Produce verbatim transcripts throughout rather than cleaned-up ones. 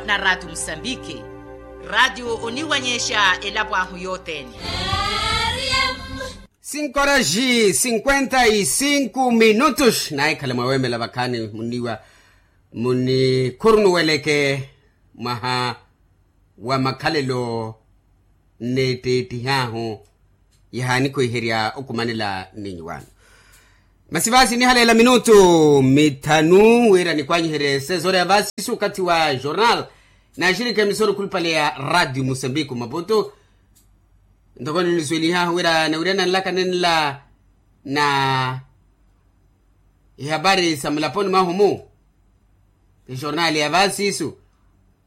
Na ratio musambiki, ratio oniwanyexa elapo ahu yothene. Cinco horas e cinquenta e cinco minutos naahikhala mwaweemela vakhaani muniwa munikhurunuweleke mwaha wa makhalelo nneetteettihahu. Yahaanikhuwiherya okumanela nninyuwaano. Masi vaasi nihaleela minutu mithanu wira nikwanyiherye sesore ya vaasi isu okathi wa jornal. Naaxirikha emisoro khulupale ya ratio musambiki maputu. Ntoko ninisuwelihahu wira nawirya nanlaka nenla na ihapari sa mulaponi mwahu-mu. Ti jornal ya vaasi isu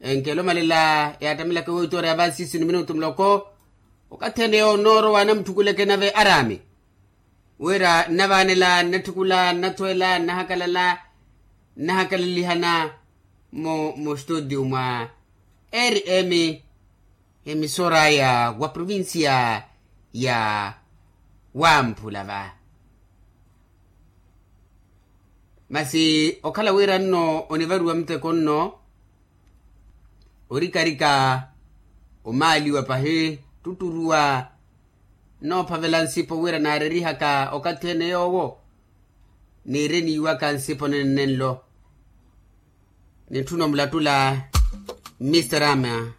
enkelo malela yaattamilaka ewoitora ya vaasi isu ni minutu muloko. Okathi ene yonoorowa anamutthukuleke nave araami wira nnavaanela nnatthukula nnathweela nnahakalala nnahakalalihana mu mustudio mwa rm. Emisora ya wa provincia ya wamphula va. Masi okhala wira nno onivariwa muteko nno orikarika omaaliwa pahi ttutturuwa nnoophavela nsipo wira naarerihaka okathi ene yoowo niire niiwaka nsipo nenne nlo. Nitthuna omulattula mr ama